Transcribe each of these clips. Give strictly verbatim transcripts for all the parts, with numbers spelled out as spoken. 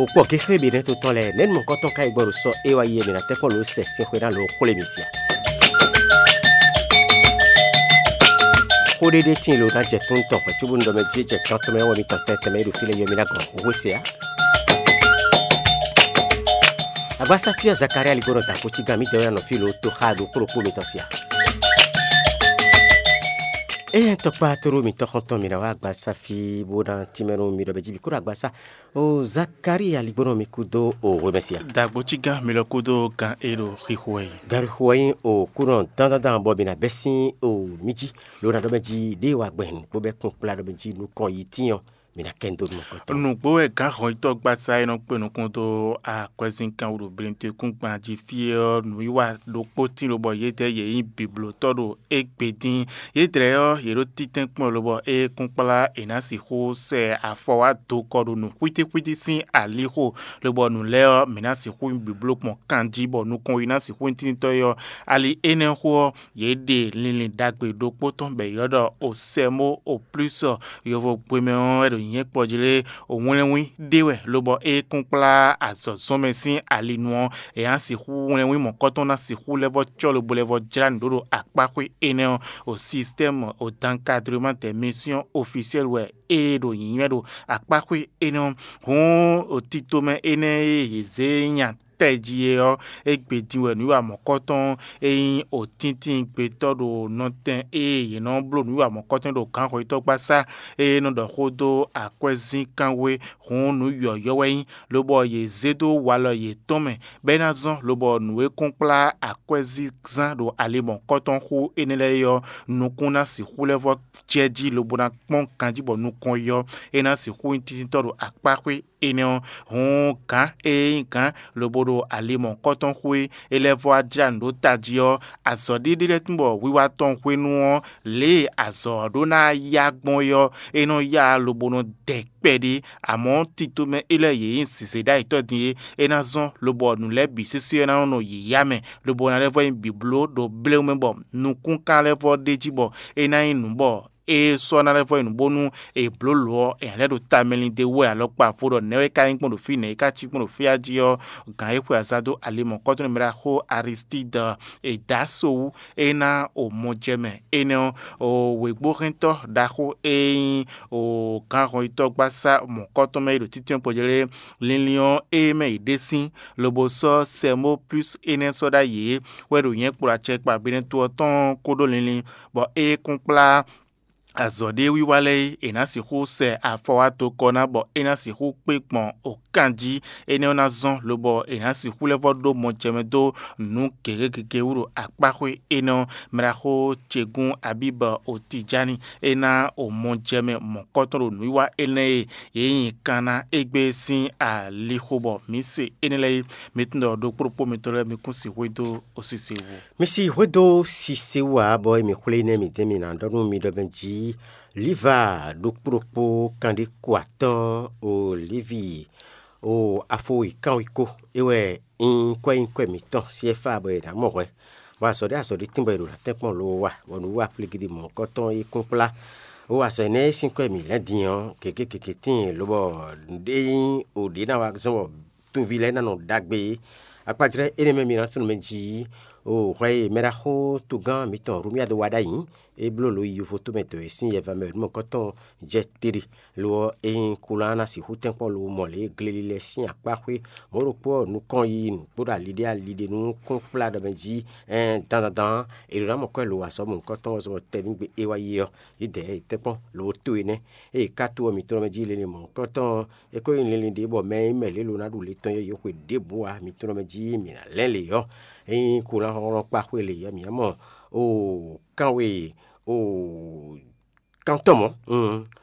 O kpɔ géxé bǐ nɛ́ to tɔn lɛ́ɛ, nɛ̌ mɔ̌kɔtɔn ka yi gbɔ ɖo sɔ é wá yi e mǐ ná tɛ́ kpɔ́n lǒ sɛ sɛn xwe ná lǒ xwlé mì sia? Xó ɖé ɖé tíin lo ná jɛ tún tɔn hwɛ̌ cóbónú ɖɔ mɛ jí é jɛ gán tɔn mɛ wɛ mì tɔn tɛnmɛ tɛnmɛ é ɖo fí lɛ́ɛ yi ɔ́, mì ná gɔn hwehwe se ǎ. Agbasá fí ɔ́, Zakalía ligbɔnɔ da kó cí gán mǐtɛn wɛ ná nɔ fí lo tó xá ɖokpó ɖokpó mitɔn sia. Éyɛ́ tɔkpá tló mitɔn xɔ́ntɔn mǐ ná wá agbasá fí bó ná tínmɛ nú mi ɖɔ mɛ jí bǐ kó ɖo agbasá. O Zakalía ligbɔnɔ mi kú dó o hwemɛ sia. Dagbo cí gán mi lɔ kú dó gán e ɖo xixo wɛ yi. Gari xo wɛ nyí o kúnɔ dandandan bɔ mǐ ná bɛ́ sín o mí jí lo ná ɖɔ mɛ jí ɖěe wá gbɛn nǔgbó bɛ́ kún kplá ɖɔ mɛ jí nukɔn yi tín ɔ́, mǐ ná kɛ nyi dó nú nukɔn tɔn. Nǔgbó wɛ gǎn hɔnyitɔ́ gbasá e nɔ kpé nukún dó akwɛ́zínkán wú ɖo Blintwekúngban jí fí ɔ́, nǔwiwa ɖokpó tín lobɔ yědɛɛ yě nyí biblotɔ́ ɖo égbé dín. Yědɛɛ ɔ́, yě ɖo títɛ́n kpɔ́n lobɔ é kún kplá è nǎ sixú sɛ afɔ wá do kɔ ɖo nǔ xwítíxwítí sín alixo, lobɔ nǔ lɛ́ɛ ɔ́, mǐ ná sixú nyí bibló gbɔn kanjí bɔ nukɔn yi ná sixú nyí tíntɔ́ é ɔ́. Ali énɛ́ xó ɔ́, yě ɖe linlin ɖagbe ɖokpó tɔn bɔ è ylɔ́ ɖɔ Osɛmó Oplúsɔ. Yovo gbe mɛ ɔ́ wɛ ɖo nyǐnyɛ́ kplɔ́ jí lé, wlɛ́nwín ɖé wɛ, lobɔ é kún kplá azɔ̌ zɔn mɛ sín ali nu ɔ́, è nǎ sixú wlɛ́nwín mɔ̌kɔ́tɔn ná sixú lɛ́ vɔ́ cɔ́ lobo lɛ́ vɔ́ jlá nǔ ɖó ɖo akpáxwé énɛ́ ɔ́, o système o d'encadrement des missions officielles wɛ é ɖo nyǐnyɔ́ ɖo akpáxwé énɛ́ ɔ́. Hǔn o tito mɛ énɛ́ e yě zě nya tɛ́ jí é ɔ́, égbé din wɛ nǔwiwa mɔ̌kɔ́tɔn e nyí otíntín gbetɔ́ ɖo nɔtɛn e yě nɔ bló nǔwiwa mɔ̌kɔ́tɔn ɖo gǎnxɔyítɔ́gbasá e nɔ ɖɔ xó dó akwɛ́zínkánwe, hǔn nǔ yɔ̌yɔ́ wɛ nyí, lobɔ yě zé dó walɔ yětɔn mɛ, bɔ é ná zɔ́n lobɔ nǔ e kún kplá akwɛ́zínzán ɖo ali mɔ̌kɔ́tɔn xú énɛ́ lɛ́ɛ é ɔ́, nukún ná sixú lɛ́ vɔ́ jɛ jí lobo ná kpɔ́n ganjí bɔ nukɔn yi ɔ́, é ná sixú nyí tíntɔ́ ɖo akpáxwé énɛ́ ɔ́. Hǔn gǎn e nyí gǎn lobo ɖo ali mɔ̌hunkɔtɔn xwé é lɛ́ vɔ́ wá jlá nǔ ɖó tají ɔ́, azɔ̌ ɖé ɖé lɛ́ɛ tunwun bɔ wiwa tɔn hwenu ɔ́, lě e azɔ̌ ɔ́ ɖó ná yá gbɔn é ɔ́, é nɔ yá lobo nɔ dɛ kpɛɖé. Amɔ̌, tito mɛ élɔ́ e yě nyí zǐzéɖ'ayǐtɔ́ din é, é ná zɔ́n lobo ɔ́ nǔ lɛ́ɛ bǐ sésé ɔ́ ná nɔ nɔ yǐyá mɛ, lobo ná lɛ́ vɔ́ nyí bǐbló ɖo bléwún mɛ bɔ nukúnkan lɛ́ vɔ́ ɖ'é jí bɔ é ná nyí nǔ bɔ é sɔ́ ná lɛ́ vɔ́ yi nǔ bónú è blǒ lǒ ɔ́, è nǎ lɛ́ ɖo tamɛ lin d'é wú wɛ alɔkpa vo ɖɔ nɛ̌ wɛ é ka nyí gbɔn ɖo fí, nɛ̌ é ka cí gbɔn ɖo fí a jí ɔ́, gǎn e xwe azǎn dó ali mɔ̌kɔ́tɔn mɛ ɖaxó Aristídi è dǒ aso wú, é ná o mɔ jɛ mɛ. Énɛ́ ɔ́, o wěgbóhɛntɔ́ ɖaxó e nyí o gǎnhɔnyitɔ́gbasá mɔ̌kɔ́tɔn mɛ e ɖo títɛ́ngbɔjɛ́ lɛ́ɛ linlin ɔ́, é mɛ yě ɖe sín, lobo sɔ́ Sɛmó Plús énɛ́ sɔ́ ɖ'ayǐ é wɛ ɖo nyɛ̌ kplɔ́ acɛkpa Benɛto ɔ́ tɔn kó ɖó linlin, bɔ é kún kplá azɔ̌ ɖé wiwa lɛ́ɛ é, è nǎ sixú sɛ afɔ wá tokɔ ná bɔ é ná sixú kpé gbɔn okan jí. Énɛ́ ɔ́ ná zɔ́n lobɔ è nǎ sixú lɛ́ vɔ́ ɖó mɔjɛmɛ dó nǔ gěgé gěgé wú ɖo akpáxwé énɛ́ ɔ́. Mraxó ce gún Abíbɔ Otijáni é ná o mɔjɛmɛ mɔ̌kɔtɔn ɖo nǔwiwa énɛ́ e yě nyi kan ná égbé sín alixo bɔ mǐ se énɛ́ lɛ́ɛ é. Mi tunwun ɖɔ ɖokpó ɖokpó mitɔn lɛ́ɛ mi kún sixú dó osise wú. Mi si hwedó sise wú ǎ, bɔ émí xwlé nɛ́ mǐ dɛ́ mǐ ná ɖɔ nú mi ɖɔ mɛ jí Liva ɖokpó ɖokpó kanɖé ko atɔ́ɔ́n Olívi o afo e kánwekó é wɛ nyí kwɛ́nyíkwɛ́ mǐtɔn Syɛ́fá bɔ è nǎ mɔ hwɛ, bɔ azɔ̌ ɖé azɔ̌ ɖé tín bɔ è ɖo ná tɛ́nkpɔ́n lo wa, bɔ nǔ wa kplígídí mɔ̌hunkɔtɔn é kún kplá. O azɔ̌ énɛ́ e sín kwɛ́ mǐ lɛ́ din ɔ́, gěgé gěgé tíin lobɔ nǔɖé nyí o ɖě ná wa zɔ́n bɔ tunví lɛ́ɛ ná nɔ ɖagbe é. Akpajlɛ́ énɛ́ mɛ mi ná tunwun mɛ jí o hwɛ e mɛɖaxó togán mǐtɔn Hlomia dó wa ɖ'ayǐ, é bló lǒ yi yovo tomɛ dɔ̌ e sín yɛva mɛ nǔmɔkɔ́tɔn jɛ tere. Lo ɔ́, é nyí kulán ná sixú tɛ́nkpɔ́n lo mɔ lě e gleli lɛ́ɛ sín akpá xwé mɔ̌ ɖokpó ɔ́ nukɔn yi nǔkpó ɖo aliɖé aliɖé nú kún kplá ɖɔ mɛ jí ɛɛn dandandan ɔ́, è ɖǒ ná mɔ kwɛ́ lo azɔ̌ mɔ̌hunkɔtɔn ɔ́ zɔn bɔ tɛ́ nú gbe é wá yi ɔ́, yě dɛ̌ è tɛ́nkpɔ́n lo tó énɛ́. Ée è ká to ɔ́, mǐ tlɔ́ mɛ jí linlin mɔ̌hunkɔtɔn ɔ́, é ko nyí linlin ɖě bɔ mɛ e nyí mɛ lě lo ná ɖu le tɔn yɔ́ yě xwe ɖěbǔ ǎ. Mi tlɔ́ mɛ jí mǐ ná lɛ́n lě ɔ́, é nyí kulánxɔ́xɔ́ kpá xwe lě ɔ́, mǐ ná mɔ o kanwe o kantɔn mɔ̌,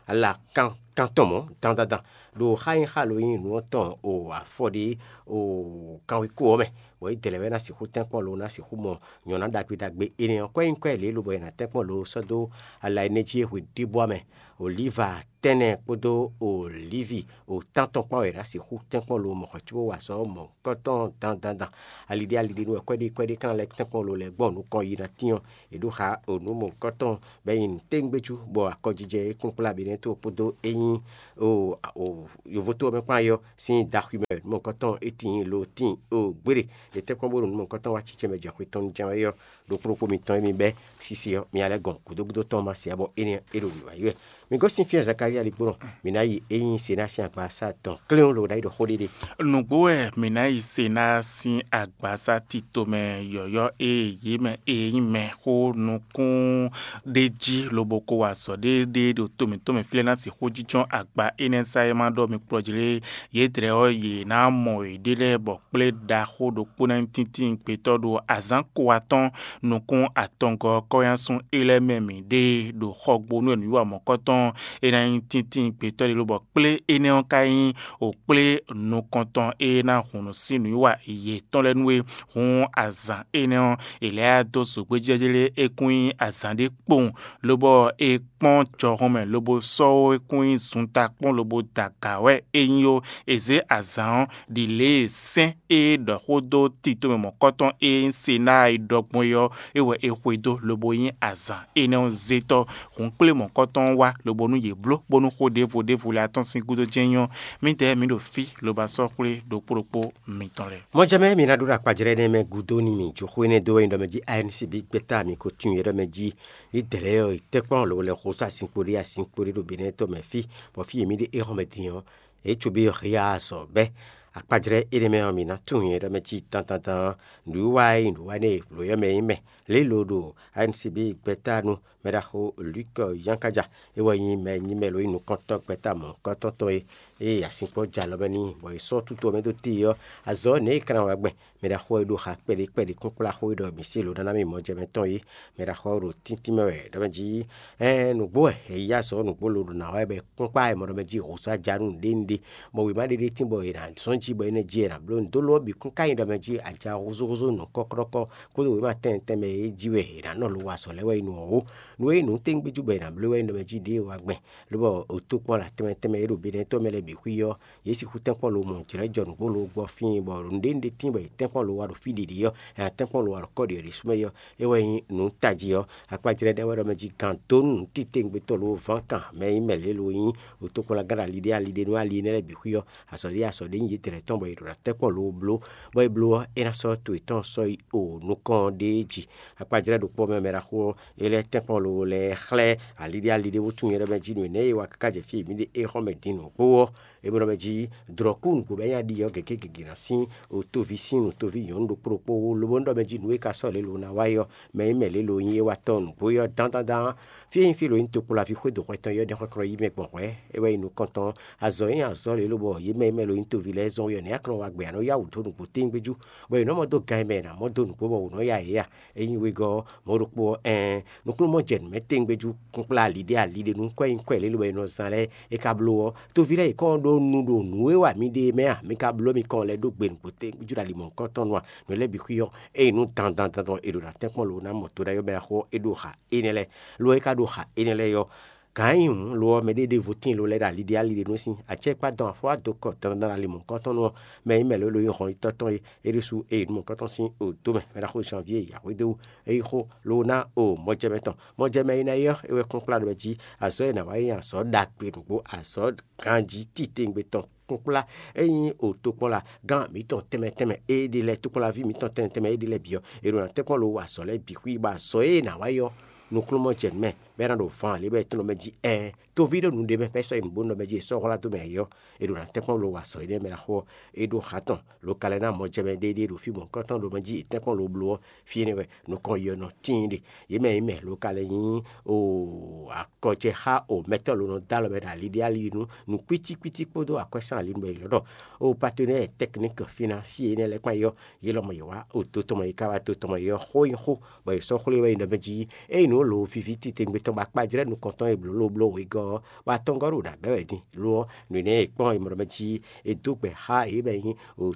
ala kan kantɔn mɔ̌ dandandan ɖo xá nyí xá lo nyí nǔ ɔ́ tɔn o afɔ ɖé o kanwekó ɔ́ mɛ, bɔ é dɛ lɛ́ɛ wɛ ná sixú tɛ́nkpɔ́n lo ná sixú mɔ nyɔ̌ná ɖagbe ɖagbe énɛ́ ɔ́. Kwɛ́ nyí kwɛ́ lě lobo è nǎ tɛ́nkpɔ́n lo sɔ́ dó ala énɛ́ jí e hwe ɖěbú ɔ́ mɛ. Olíva tɛ́nnɛ kpódó olívi o tántɔn kpán wɛ è nǎ sixú tɛ́nkpɔ́n lo mɔ̌ xɔ cóbó wa azɔ̌ mɔ̌hunkɔtɔn dandandan. Aliɖé aliɖé nú wɛ kwɛ́ɖé kwɛ́ɖé kán lɛ́ tɛ́nkpɔ́n lo lɛ́ɛ gbɔn nukɔn yi ná tín ɔ́, è ɖó xa o nǔ mɔ̌hunkɔtɔn bɔ é nyí nǔtɛ́ngbéjú, bɔ akɔjijɛ e kún kplá Benɛto kpódó é nyí o o yovoto ɔ́ mɛ kpán yɔ sín daxwi mɛ nú mɔ̌hunkɔtɔn é tíin lo tíin o gbére. È tɛ́nkpɔ́n bónú nú mɔ̌hunkɔtɔn wá cícɛ́ mɛ jɛ xwe tɔn jɛ́n wɛ ɔ́, ɖo kplɔ́kpó mitɔn e mi bɛ́ sisi ɔ́, mi ná lɛ́ gɔn gǔdo gúdo tɔn ma se ǎ bɔ énɛ́ é ɖo wǐwá yi wɛ. Mi gosín fí e Zakalía ligbó nɔ, mi ná yi é nyí Sená sín agbaza tɔn kléwún lobo ná yi ɖɔ xó ɖé ɖe. Nǔgbó wɛ mǐ ná yi se ná sín agbaza tito mɛ yɔ̌yɔ́ e yě mɛ e nyí mɛ xó nukún ɖé jí lobo ko wa azɔ̌ ɖé ɖé ɖo to mǐtɔn mɛ fí lɛ́ɛ ná sixú jínjɔ́n agba énɛ́ zá e ma ɖɔ mi kplɔ́ jí lé. Yědɛɛ ɔ́, yě ná mɔ yěɖée lɛ́ɛ bɔ kplé ɖaxó ɖokpó ná nyí tíntín gbetɔ́ ɖo azǎn ko atɔ́ɔ́n nukún atɔngɔ́ ɔ́ kɔ́nyásún é lɛ́ɛ mɛ mǐ ɖe ɖo xɔgbónú e nǔwiwa mɔ̌kɔtɔn é ná nyí tíntín gbetɔ́ ɖé lobɔ kplé énɛ́ ɔ́ ka nyí wǒkplé nukɔntɔn e ná hun nǔ sín nǔwiwa yětɔn lɛ́ɛ nú é. Hǔn azǎn énɛ́ ɔ́, è lɛ́ dó zǒgbéjɛ́jɛ́ lé é kún nyí azǎn ɖé kpowun, lobɔ è kpɔ́n jɔhɔn mɛ lobo sɔ́ ó, é kún nyí zunta kpɔ́n lobo da aga wɛ é nyí ó. È zě azǎn ɔ́ ɖi lě e sɛ́n e ɖɔ xó dó tito mɛ mɔ̌kɔtɔn e nyí Senáa e ɖɔ gbɔn é ɔ́, é wɛ è xwedó lobo nyí azǎn énɛ́ ɔ́ zétɔ́. Hǔn kplé mɔ̌kɔtɔn ɔ́ wá lobo nú yě bló bónú xó ɖěvo ɖěvo lɛ́ɛ atɔ́n sín gúdo jɛ́n nyɔ́. Mǐdɛɛ mǐ ɖo fí lobo sɔ́ xwlé ɖokpó ɖokpó mitɔn lɛ́ɛ. Mɔjɛmɛ mi ná ɖó ɖo akpajlɛ́ énɛ́ mɛ gúdo nú mì jó xó énɛ́ dó wɛ nyí ɖɔ mɛ jí A N C B gbɛ́ta mi ko tunwun yě ɖɔ mɛ jí. Yě dlɛ̌ ɔ́, tɛ́nkpɔ́n lǒ lɛ́ xó só azinkpo ɖé azinkpo ɖé ɖo Benɛ́ tɔn mɛ fí, bɔ fí e mǐ ɖe éhɔ́n mɛ din ɔ́, yě cóbí hyá azɔ̌ bɛ́. Akpajlɛ́ énɛ́ mɛ ɔ́, mǐ ná tunwun yě ɖɔ mɛ cí dandandan ɔ́, nǔwiwa e nyí nǔwanú e blǒ ɔ́ mɛ nyí mɛ. Lě e lo ɖo A N C B gbɛ́ta nu mɛɖaxó Luk Yankaja, é wɛ nyí mɛ nyí mɛ lo nyí nukɔntɔ́ gbɛ́ta mɔ̌hunkɔtɔn tɔn e ée azinkpo jɛ alɔ mɛ n'i, bɔ è sɔ́ tútu ɔ́ mɛ dó te ɔ́, azɔ̌ nɛ̌ è ka ná wa gbɛn? Mɛɖaxó e ɖo xa kpɛɖé kpɛɖé kúnkplá xó e ɖɔ mǐ se lǒ ná ná mì mɔjɛmɛtɔn é, mɛɖaxó ɔ́ ɖo tíntín mɛ wɛ ɖɔ mɛ jí. Ɛɛn nǔgbó wɛ è yí azɔ̌ nǔgbó lo ɖo nǎ wá wɛ bɔ é kpɔ́n kpá wɛ mɔ ɖɔ mɛ jí hǒsá ja nú nǔɖé nǔɖé, bɔ wěma ɖé ɖé tín bɔ è nǎ zɔ́n jí bɔ énɛ́ jí è nǎ bló nǔ dó lo ɔ́ bǐ kún ka nyí ɖɔ mɛ jí aja húzúhúzú nǔ kɔ́kɔ́kɔ́ kpódó wěma tɛnmɛ tɛnmɛ e jí wɛ è nǎ nɔ lo wa azɔ̌ lɛ́ɛ wɛ nyí nǔ ɔ́ ó. Nǔ e nyí nǔ téŋgbéjú bɔ è nǎ bló wɛ nyí ɖɔ mɛ jí ɖěe wa gbɛn, lobɔ tokpɔ́n la tɛnmɛ tɛnmɛ e ɖo Benɛ́tɔ́ mɛ lɛ́ɛ bǐ xwí ɔ́, yě sixú tɛ́nkpɔ́n lo mɔ jlɛ̌ jɔ nǔgbó lo gbɔ fíin, bɔ nǔɖé nǔɖé tíin bɔ yě tɛ́nkpɔ́n lo wa ɖo fí ɖiɖi ɔ́, è nǎ tɛ́nkpɔ́n lo wa ɖo kɔ́ ɖě ɖésú mɛ ɔ́, é wɛ nyí nǔ tají ɔ́. Akpajlɛ́ ɖɛ́ wɛ ɖɔ mɛ jí gǎn dó nú títewungbe tɔn lo ván kan mɛ e nyí mɛ lě lo nyí, wǒtokpɔ́nlagán ɖo ali ɖé ali ɖé nú ali énɛ́ lɛ́ɛ bǐ xwí ɔ́, azɔ̌ ɖé azɔ̌ ɖé nyí yědɛɛ tɔn bɔ è ɖo ná tɛ́nkpɔ́n lo bló, bɔ é bló ɔ́, é ná sɔ́ to yětɔn sɔ́ yi o nukɔn ɖéé jí. Akpajlɛ́ ɖokpó mɛ mɛ ɖaxó ɔ́, é lɛ́ tɛ́nkpɔ́n lo lɛ́ɛ xlɛ́ ali ɖé ali ɖé wútu nyɛ ɖɔ mɛ jí nǔ énɛ́ e wa káká jɛ fí e mǐ ɖe é xɔ́n mɛ din nǔgbó ɔ́, é mɔ ɖɔ mɛ jí drɔ̌kú nǔgbó bɔ é nya ɖi ɔ́ gěgé gěgé ná sín o tóví sín nǔ tóví nyɔ̌nu ɖokpó ɖokpó wú, lobo nú ɖɔ mɛ jí nǔ e ka sɔ́ lě lo ná wa é ɔ́, mɛ e nyí mɛ lě lo nyí é wá tɔ́n nǔgbó é ɔ́ dán dán dán. Fí e nyí fí lo nyí topo laví xwé do hwɛ tɔn é ɔ́ ɖɛ́ xɔ́ntɔn yí mɛ gbɔn hwɛ̌, é wɛ nyí nukɔntɔn. Azɔ̌ e nyí azɔ̌ lě lobɔ yě mɛ e mɛ lo nyí toví lɛ́ɛ zɔ́n wɛ ɔ́, nɛ̌ a ka nɔ wa gbɛ a nɔ yá wǔ dó nǔgbó téwúngbéjú, bɔ è nɔ́ mɔ dó gan e mɛ è nǎ mɔ dó nǔgbó bɔ wǔ nɔ́ ya yě a? Ényí wegɔ́ ɔ́, mɔ̌ ɖokpó ɔ́, ɛɛn, nukúnnú mɔ jɛ nǔ mɛ téwúngbéjú kúnkplá ali ɖé ali ɖé nú kwɛ́ nyí kwɛ́ lě lobɔ è nɔ zán lɛ́ɛ é ka bló ɔ́, toví lɛ́ɛ yě kɔn ɖó nu ɖo nǔ e wa mǐ ɖe é mɛ a? Mi ka bló mi kɔn lɛ́ ɖó gbe nǔgbó téwúngbéjú ɖo ali mɔ̌hunkɔtɔn nu a? Nǔ lɛ́ɛ bǐ xwí ɔ́, ényí nǔ dandan dandan è ɖo ná tɛ́nkpɔ́n lo ná mɔ to ɖ'ayɔ́ mɛ ná xó é ɖo xa énɛ́ lɛ́ɛ. Lo e ka ɖo xa énɛ́ lɛ́ɛ ɔ́, gǎn e nyí hǔn lo ɔ́, mɛɖé ɖěvo tíin lo lɛ́ ɖo ali ɖé ali ɖé nú sín acɛkpá dɔn afɔ́ wá dó kɔ dandan ali mɔ̌hunkɔtɔn nu ɔ́, mɛ e nyí mɛ lě lo nyí hɔn yitɔ́ tɔn é, é ɖésú é yi nú mɔ̌hunkɔtɔn sín o dó mɛ, mɛ ná xó Janvier yǎhwédó é yi xó lo ná o mɔjɛmɛ tɔn. Mɔjɛmɛ e ná yi ɔ́, é wɛ kplɔ́nkplá ɖɔ mɛ jí azɔ̌ e è nǎ wa é nyí azɔ̌ ɖagbe nǔgbó, azɔ̌ ganjí titewungbe tɔn kplɔ́nkplá. Ényí o tokpɔ́n la gán mǐtɔn tɛnmɛ tɛnmɛ e ɖe lɛ́ɛ, tokpɔ́nlaví mǐtɔn tɛnmɛ tɛnmɛ e ɖe lɛ́ɛ bǐ ɔ́, è ɖo ná tɛ́nkpɔ́n lo wa azɔ̌ lɛ́ɛ bǐ xwí, bɔ azɔ̌ e è nǎ wa é ɔ́, nukúnnú mɔ jɛ nǔ mɛ, bɔ é ná ɖo van lě bɔ è tlɔ́n mɛ jí ɛɛn. Toví ɖo nǔɖé mɛ, bɔ é sɔ́ yi nǔ bó nɔ mɛ jí è sɔ́ hwlá dó mɛ ǎ ɔ́, è ɖo ná tɛ́nkpɔ́n lo wa azɔ̌ énɛ́ mɛ ná xo ɔ́, é ɖó xa tɔn. Lo ka lɛ́ ná mɔjɛmɛ ɖéɖé ɖo fí mɔ̌hunkɔtɔn ɖo mɛ jí è tɛ́nkpɔ́n lo bló ɔ́, fí énɛ́ wɛ nukɔn yɔ nɔ tíin ɖe. Yě mɛ e mɛ lo ka lɛ́ nyí o akɔjɛxá o mɛtɔ́ lo nɔ dó alɔ mɛ ɖo ali ɖé ali nu, nǔ kwítíkwítí kpódó akwɛ́sán ali nu bɔ è lɔ̌ ɖɔ o patenɛ́ɛ tɛkník fínánsí énɛ́ lɛ́ɛ kpán yɔ, yě lɔmɔ yě wá o dó tɔn mɔ yě ká wá dó tɔn mɔ yě ɔ́, xó nyí xó, bɔ è sɔ́ xwlé wɛ nyi ɖɔ mɛ jí ényí nǔ lo viví titewungbe tɔn ba kpajlɛ́ nukɔntɔn e blǒ lo bló wegɔ́ ɔ́, bɔ atɔngɔ́ ɖo nǎ bɛ́ wɛ din lo ɔ́, nǔ énɛ́ e kpɔ́n è mɔ ɖɔ mɛ jí è dó gbɛ xá yě mɛ nyí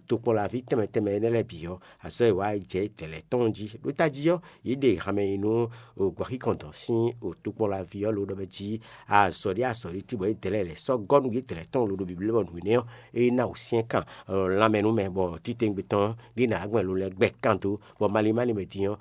tokpɔnlaví tɛnmɛ tɛnmɛ énɛ́ lɛ́ɛ bǐ ɔ́, azɔ̌ e wǎ yi jɛ tɛlɛ tɔn jí. Ɖó tají ɔ́, yě ɖe hanmɛ nyi nú gbɔ̌xíkɔn dɔn sín tokpɔnlaví ɔ́ lo ɖɔ mɛ jí azɔ̌ ɖé azɔ̌ ɖé tí bɔ yědɛɛ lɛ́ɛ lɛ̌ sɔ́ gɔ́ nú yědɛɛ lɛ́ɛ tɔn lo ɖo Biblu mɛ nǔ énɛ́ ɔ́, é ná wǔsyɛ́n kan lanmɛ nú mɛ bɔ titewungbe tɔn ɖé ná gbɛn lo lɛ́ɛ gbɛ kan dó, bɔ malín malín mɛ din ɔ́,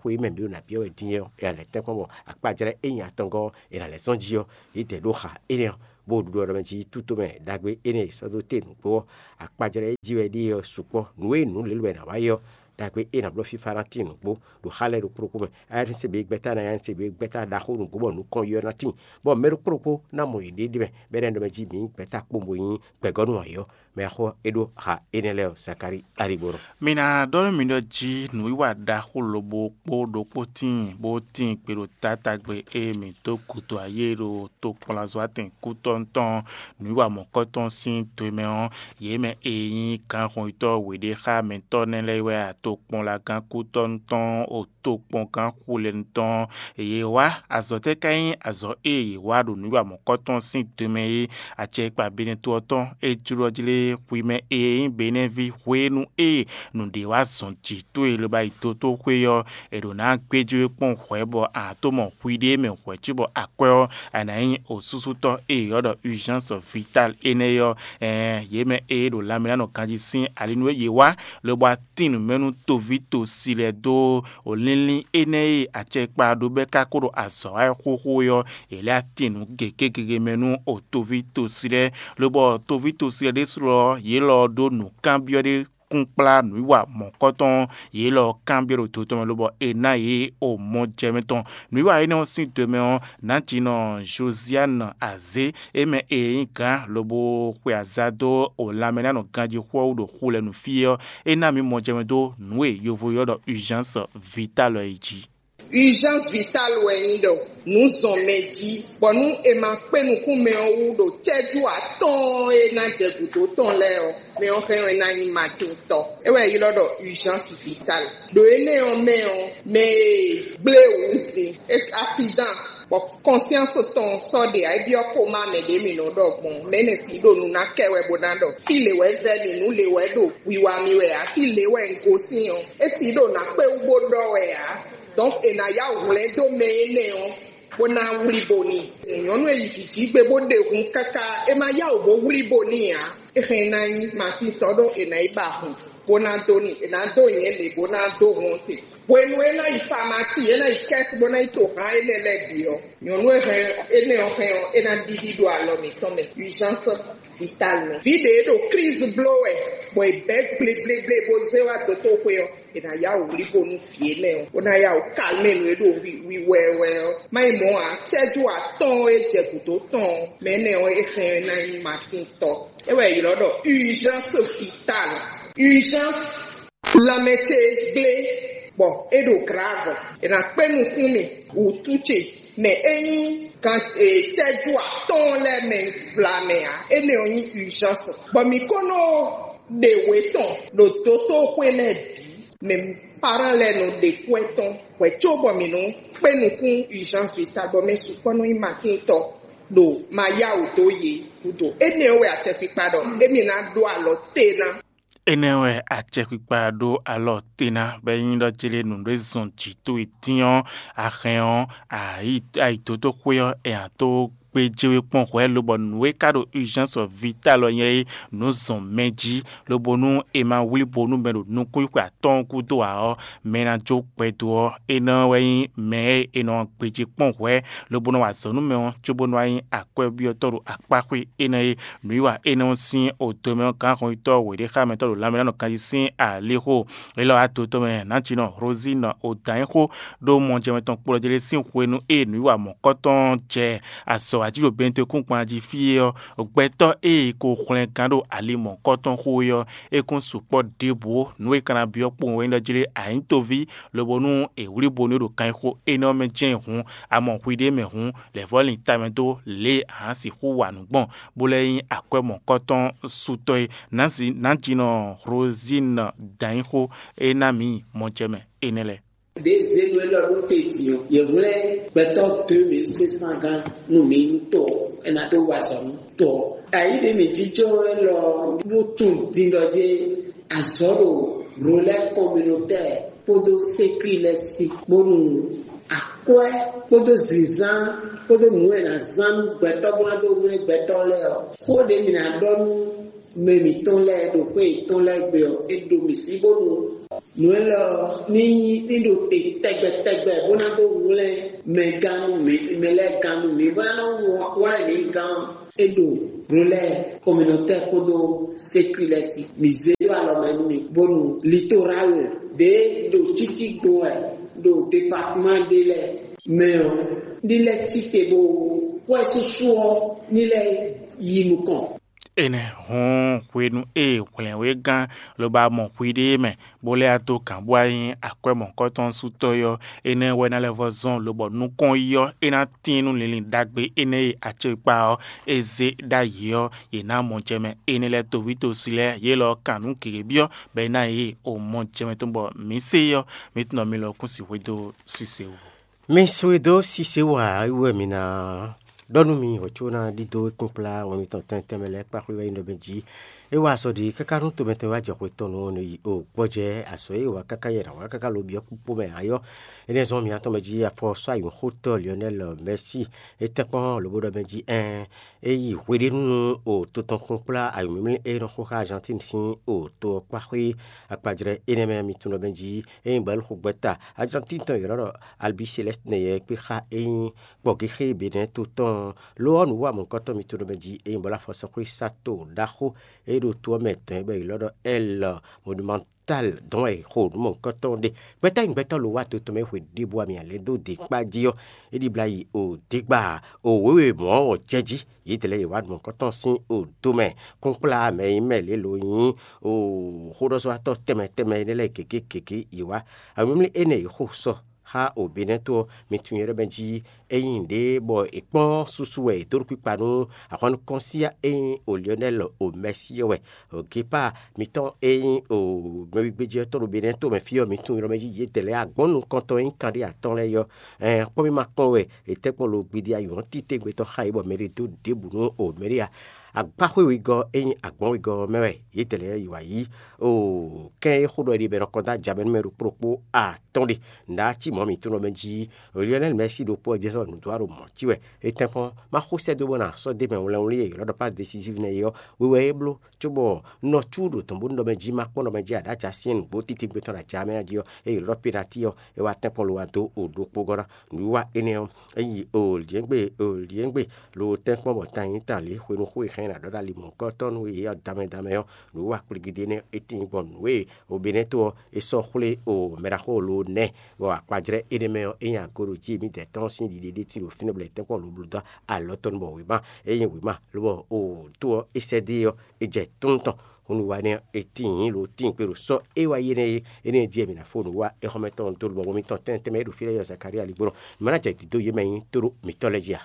xwe e mɛ mǐ ɖo nǎ byɔ́ wɛ din ɔ́, è nǎ lɛ́ tɛ́nkpɔ́n bɔ akpajlɛ́ e nyi atɔngɔ́ ɔ́, è nǎ lɛ́ zɔ́n jí ɔ́, yědɛɛ ɖó xa énɛ́ ɔ́. bó ɖuɖu ɔ́ ɖɔ mɛ jí tútomɛ ɖagbe énɛ́ e sɔ́ dó te nǔgbó ɔ́, akpajlɛ́ e jí wɛ ɖíe ɔ́ sukpɔ́. Nǔ e nǔ lělú wɛ è nǎ wá yí ɔ́, ɖagbe e nǎ bló fífá ná tín nǔgbó ɖo xá lɛ́ɛ ɖokpó ɖokpó mɛ. Ayánnísegbe gbɛ́ta ná ayánnísegbe gbɛ́ta ɖaxó nǔgbó bɔ nǔkɔn yi ɔ́ ná tíin, bɔ mɛ ɖokpó ɖokpó ná mɔ yěɖée ɖ'é mɛ, bɔ é ná ɖɔ mɛ jí mǐ gbɛ́ta kpó bo nyí gbɛ̌gɔ́nú ayǐ ɔ́, mɛ axó é ɖó ha énɛ́ lɛ́ɛ ɔ́, Zakalíi aligbɔnɔ. Mi ná ɖɔ nú mi ɖɔ jí nǔwiwa ɖaxó lobo kpó ɖokpó tíin bó tíin gbe ɖo taátagbe e mǐ dó gǔdo ayé ɖo tokpɔnlazɔ́watɛn kútɔ́ tɔn nǔwiwa mɔ̌kɔtɔn sín do e mɛ ɔ́, yě mɛ e nyí gǎnhɔnyitɔ́ wěɖé xá mɛtɔ́ nɛ́ lɛ́ɛ wɛ a tokpɔnlagán kútɔ́ tɔn o tokpɔngán xulɛnu tɔn. Yě wá azɔ̌ tɛ́ ka nyí azɔ̌ e yě wá ɖo nǔwiwa mɔ̌kɔtɔn sín do mɛ é? Acɛkpa Benɛto ɔ́ tɔn é jló ɔ́ jlé hwi mɛ e nyí Benɛví hwenu e nǔɖé wá zɔn jǐ towe lobo yi dotóxwé ɔ́, è ɖǒ ná gbéjé we kpɔ́n hwɛ̌ bɔ a tó mɔ hwiɖée mɛ hwɛ̌ cóbɔ akwɛ́ ɔ́, a nǎ nyí osúsútɔ́ e è ylɔ́ ɖɔ urgence vitale énɛ́ ɔ́. Ɛɛn, yě mɛ e ɖo lanmɛ ná nɔ ganjí sín ali nú e yě wá, lobo wá tín nǔ mɛ nú toví tosi lɛ́ɛ dó o línlín énɛ́ e acɛkpa ɖó bɛ́ ka ko ɖo azɔ̌ wa wɛ xóxó é ɔ́, è lɛ́ atín nǔ gěgé gege mɛ nú o toví tosi lɛ́ɛ, lobɔ toví tosi lɛ́ɛ ɖésú ɔ́, yě lɔ ɔ́ ɖó nǔkanbyɔ́ ɖé kúnkplá nǔwiwa mɔ̌kɔtɔn, yě lɔ ɔ́ kanbyɔ́ ɖo do tɔn mɛ lobɔ è ná yě o mɔjɛmɛ tɔn. Nǔwiwa énɛ́ ɔ́ sín do mɛ ɔ́, nǎjínɔ Josiane Azé é mɛ e nyí gǎn lobo xwe aza dó o lanmɛ ná nɔ ganjí xwɛ́ wú ɖo xu lɛ́ɛ nú fí é ɔ́, é ná mǐ mɔjɛmɛ dó nǔ e yovo ylɔ́ ɖɔ urgence vitale ɔ́ é jí. Urgence vitale wɛ nyí ɖɔ nǔ zɔn mɛ jí, bɔ nú è ma kpé nukún mɛ ɔ́ wú ɖo cɛ́jú atɔ́ɔ́n e ná jɛ gǔdo tɔn lɛ́ɛ ɔ́, mɛ ɔ́ hɛn ɔ́ é ná nyí matintɔ. É wɛ è ylɔ́ ɖɔ urgence vitale. Ɖo énɛ́ ɔ́ mɛ ɔ́, mɛ e gblé wǔ din, accident, bɔ conscience tɔn sɔ́ ɖe ǎ, é byɔ́ kóma mɛ ɖě mǐ nɔ ɖɔ gbɔn, mɛ énɛ́ sixú ɖo nǔ ná kɛ wɛ bó ná ɖɔ fí lě wɛ vɛ́ mì, nǔ lě wɛ ɖo wiwa mì wɛ ǎ, fí lě wɛ un gosín ɔ́, é sixú ɖo nǎ kpé wú bó ɖɔ wɛ ǎ. Donc è nǎ yá whɛ̌n dó mɛ énɛ́ ɔ́, bó ná wlí bo n'i. Nyɔ̌nu e yi vǐ jí gbe bó ɖe hun káká, é ma yá wǔ bó wlí bo n'i ǎ. É hɛn ná nyí Matín tɔn ɖó è nǎ yi ba hun, bó ná dó n'i, è nǎ dó nyɛ̌ lě bó ná dó hun ɔ́ te. Hwenu e é ná yi famasi, é ná yi kɛ́si bó ná yi to hǎn énɛ́ lɛ́ɛ bǐ ɔ́, nyɔ̌nu e hɛn énɛ́ ɔ́ hɛn ɔ́, é ná ɖiɖi ɖo alɔ mǐtɔn mɛ, urgence vitale nɔ. Vǐ ɖě ɖo crise bló wɛ, bɔ è bɛ̌ gblegblegle bó zé wá dotóxwé ɔ́, è nǎ yá wǔ wlí bo nú vǐ énɛ́ ɔ́, bó ná yá wǔ kalmé nǔ e ɖo wiwɛwɛ ɔ́. Má nyí mɔ̌ ǎ, cɛ́jú atɔ́ɔ́n e jɛ gǔdo tɔn ɔ́, mɛ énɛ́ ɔ́, é hɛn ɔ́, é ná nyí Matín tɔn. É wɛ è ylɔ́ ɖɔ urgence vitale. Urgence lanmɛ ce gblé, bɔ é ɖo grave. È nǎ kpé nukún mì wǔtu ce mɛ é nyí gan cɛ́jú atɔ́ɔ́n lɛ́ɛ mɛ vlamɛ ǎ. Énɛ́ ɔ́ nyí urgence. Bɔ mǐ ko nɔ ɖe wě tɔn ɖo dotóxwé lɛ́ɛ bǐ, mɛ parán lɛ́ɛ nɔ ɖe kwɛ́ tɔn hwɛ̌ cóbɔ mǐ nɔ kpé nukún urgence vitale, bɔ mɛ sukpɔ́ nɔ nyí Matín tɔn ɖo ma yá wǔ dó yě gúdo. Énɛ́ ɔ́ wɛ acɛkpikpa ɖɔ émí ná ɖó alɔ te ná. Énɛ́ wɛ acɛkpikpa ɖó alɔ te ná, bɔ é nyí ɖɔ jlé nǔɖé zɔn jǐ towe dín ɔ́, a hɛn ɔ́, a yi dotóxwé ɔ́, è nǎ tó gbé jé we kpɔ́n hwɛ̌, lobɔ nǔ e ka ɖo urgence vitale ɔ́ nyɛ é, nǔ zɔn mɛ jí, lobo nú è ma wlí bo nú mɛ ɖo nukúnxwe atɔ́ɔ́n gúdo ǎ ɔ́, mɛ ná jó gbɛdo ɔ́, énɛ́ wɛ nyí mɛ e è nɔ gbéjé kpɔ́n hwɛ̌, lobo nɔ wa azɔ̌ nú mɛ ɔ́, cóbónú wá nyí akwɛ́byɔ́tɔ́ ɖo akpáxwé énɛ́ é. Nǔwiwa énɛ́ ɔ́ sín odo mɛ ɔ́, gǎnhɔnyitɔ́ wěɖéxámɛtɔ́ ɖo lanmɛ ná nɔ kanjí sín alixo. Élɔ́ wá dotɔ́ mɛ nǎjínɔ Rosine Odǎnyixó ɖó mɔjɛmɛ tɔn kplɔ́ jlé sín hwenu e nǔwiwa mɔ̌kɔtɔn jɛ azɔ̌ wa jí ɖo Bentekún gban jí fí é ɔ́, gbɛtɔ́ e ko hwlɛngán ɖo ali mɔ̌kɔtɔn xo é ɔ́, é kún sukpɔ́ ɖěbǔ ó. Nǔ e ka ná byɔ́ kpowun wɛ nyí ɖɔ jlé anyǐtoví, lobo nú è wlí bo nú é ɖo kanxixo énɛ́ ɔ́ mɛ jɛ́n hǔn, a mɔ hwiɖée mɛ hǔn, lɛ̌vɔ́ lin tamɛ dó lě e a nǎ sixú wa nǔ gbɔn, bó lɛ́ nyí akwɛ́ mɔ̌kɔtɔn sutɔ́ é. Nǎjínɔ Rosine Danyixó é ná mǐ mɔjɛmɛ énɛ́ lɛ́ɛ. Ɖě zěnu élɔ́ ɖó te din ɔ́, yě hwlɛ́n gbɛtɔ́ deux mille cinq cents gán nú mǐ nú to ɔ́, é ná dó wa azɔ̌ nú to ɔ́. Ayǐ ɖě mǐ jínjɔ́n élɔ́ ɔ́, nú tunwun din ɖɔ jɛ́n azɔ̌ ɖo Relais Communautaire kpódó Sécu lɛ́ɛ sí, bónú akwɛ́ kpódó zǐnzán kpódó nǔ e è nǎ zán nú gbɛtɔ́ bó ná dó hwlɛ́n gbɛtɔ́ lɛ́ɛ ɔ́, xó ɖě mǐ ná ɖɔ nú mɛ mǐtɔn lɛ́ɛ ɖo xwé yětɔn lɛ́ɛ gbe ɔ́, è ɖo mǐ sí bónú nǔ élɔ́ ní nyí ní ɖo te tɛgbɛ tɛgbɛ bó ná dó hwlɛ́n mɛ gán nú mǐ, mɛ lɛ́ɛ gán nú mǐ, bó ná nɔ hwlɛ́n mǐ gán ɔ́. É ɖo Brulɛ communautaire kpódó séculaire si. Mi zé ɖó alɔ mɛ nú mi bónú Littoral ɖě ɖo títí gbo wɛ ɖo département ɖé lɛ́ɛ mɛ ɔ́, ní lɛ́ tite bó kwɛ́ súsú ɔ́ ní lɛ́ yi nukɔn. Énɛ́ hɔ́n hwenu e hwlɛ̌nwégán lobo mɔ hwiɖée mɛ, bó lɛ́ dó gǎn bó wá nyí akwɛ́ mɔ̌hunkɔtɔn sú tɔ́ ɔ́, énɛ́ wɛ ná lɛ́ vɔ́ zɔ́n lobɔ nukɔn yi ɔ́, é ná tíin nú linlin ɖagbe énɛ́ e acékpá ɔ́ é zé ɖ'ayǐ ɔ́, yě ná mɔ jɛ mɛ. Énɛ́ lɛ́ɛ toví tosi lɛ́ɛ yě lɔ kan nǔ gěgé byɔ́, bɔ é ná yě o mɔ jɛ mɛ tɔn bɔ mǐ se ɔ́, mǐ tunɔ mi lɔ kún si hwedó sise wú. Mi su e dó sise wú ǎ wú wɛ mi ná ɖɔ nú mi hwɛ̌ có ná ɖidó kpínkplá wɛn mitɔn tɛntɛn mɛ lɛ́ɛ kpá xwé wɛ nyí ɖɔ mɛ jí. É wa azɔ̌ ɖi káká nú tomɛtɔ́ wá jɛ xwe tɔn nú ɔ́ nú yi o gbɔjɛ́ azɔ̌ e wa káká yɛ nǎ wá káká lo byɔ́ kpókpó mɛ ayɔ́. Énɛ́ zɔ́n miatɔn mɛ jí afɔsɔ́ ayǐhɔ́ntɔ́ Lionel Messi é tɛ́nkpɔ́n lobó ɖɔ mɛ jí ɛn é yi hweɖénu nú o to tɔn kpínkplá ayǐmlímlí e nɔ xo xá Argentine sín o to ɔ́ kpá xwé akpajlɛ́ énɛ́ mɛ mi tunwun ɖɔ mɛ jí é nyí bɔ̌ xo gbɛ́ta Argentine tɔn yě nɔ ɖɔ Albi Céleste nɛ́ yɛ kpé xá é nyí kpɔ̌géxé Benɛ́ to tɔn ɔ́. Lo ɔ́, nǔwanǔkɔtɔn mitɔn ɖɔ mɛ jí é nyí bɔ lá afɔsɔxwé sato ɖaxó e ɖo to ɔ́ mɛ dɔn é bɔ è lɔ́ ɖɔ Ɛl Monumental dɔn wɛ è xo nǔ mɔ̌hunkɔtɔn ɖe. Gbɛtɔ́ nyi gbɛtɔ́ lo wá to tɔn mɛ xwe ɖěbǔ ami alɛ dó dě kpá jí ɔ́, é ɖibla yi o dégba o wěwe mɔ̌ ɔ́ jɛ jí. Yědɛɛ lɛ́ɛ yě wá nǔ mɔ̌hunkɔtɔn sín o do mɛ kúnkplá mɛ e nyí mɛ lě lo nyí o xóɖɔzɔ́watɔ́ tɛnmɛ tɛnmɛ énɛ́ lɛ́ɛ gěgé gěgé yě wá. Awǐmlí énɛ́ yě xo sɔ xá o Benɛ́ to ɔ́, mi tunwun nyɛ ɖɔ mɛ jí é nyí nǔɖé bɔ è kpɔ́n susu wɛ è dó ɖo kpikpa nú ahwan nukɔn síá e nyí o Lionel o Messi ɔ́ wɛ. O Gepa mitɔn e nyí o mɛwigbéjɛtɔ́ ɖo Benɛ́ to mɛ fí ɔ́, mi tunwun nyɛ ɖɔ mɛ jí yědɛɛ lɛ́ɛ agbɔ̌n nukɔntɔn e nyí kanɖé atɔ́ɔ́n lɛ́ɛ yɔ́. Ɛn kpɔ́n mi ma kpɔ́n wɛ è tɛ́ kpɔ́n lo gbidi ayǐhɔ́n títégbe tɔn xá yě bɔ mɛ ɖé dó ɖěbǔ nú o mɛ ɖé ǎ. Agbáxwé wegɔ́ e nyí agbɔ̌n wegɔ́ ɔ́ mɛ wɛ yědɛɛ lɛ́ɛ yi wǎ yí. Oo, kɛ́n e xó ɖɔ ɖi bɔ è nɔ kɔn dó aja mɛ nú mɛ ɖokpó ɖokpó atɔ́ɔ́n ɖe. Nǔɖé cí mɔ̌ mǐtɔn lɔ mɛ jí Lionel Messi ɖokpó ɔ́ jɛ́n sɔ́ nǔdó ɖo mɔ̌ cí wɛ. Étɛ́nkpɔ́n má xó sɛ́ dó bɔ nǎ sɔ́ dó mɛ wlɛnwlɛn e è ylɔ́ ɖɔ passe décisive nɛ́ é ɔ́, we wɛ é bló cóbɔ nɔ cúɖo tɔn bónú ɖɔ mɛ jí má kpɔ́n ɖɔ mɛ jí aɖǎ ja syɛ́n nǔgbó títí gbé tɔn ɖo aja mɛ jí ɔ́, é ylɔ́ ɖɔ penati ɔ́, é wá tɛ́nkpɔ́n lo wá dó o ɖokpó gɔ́ ná. Nǔwiwa énɛ́ ɔ́, é yi o lǐɛ́ngbé o lǐɛ́ngbé lo tɛ́nkpɔ́n bɔ tan nyí tan lě hwenu xó e xɛn ná ɖɔ ɖo ali mɔ̌hunkɔtɔn nú yě ɔ́ damɛ damɛ ɔ́, nǔwiwa kplígídé nɛ́ é tíin gbɔn nǔ e o Benɛ́to ɔ́ é sɔ́ xwlé o mɛɖaxó lo nɛ́, bɔ akpajlɛ́ énɛ́ mɛ ɔ́, é nyi ago ɖo jí émítɛ́ tɔn sín ɖiɖe ɖé cí ɖo fínɛ́ bɔ è tɛ́nkpɔ́n lo bló dó alɔ tɔn bɔ wěma é nyí wěma, lobɔ o tó ɔ́ é sɛ́ dó é ɔ́, é jɛ tónú tɔn. Hwenu wa énɛ́ ɔ́, è tíin lo tíin kpé ɖo sɔ́ é wá yi énɛ́ é, énɛ́ jí wɛ mǐ ná fó nǔ wá exɔmɛ tɔn dó lobɔ mitɔn tɛnmɛ tɛnmɛ é ɖo fí lɛ́ɛ yɔ Zakalía ligbó nɔ. Mǐ ma ná jɛ dǐdó yě mɛ nyí tóɖó mǐtɔn lɛ́ɛ jí a?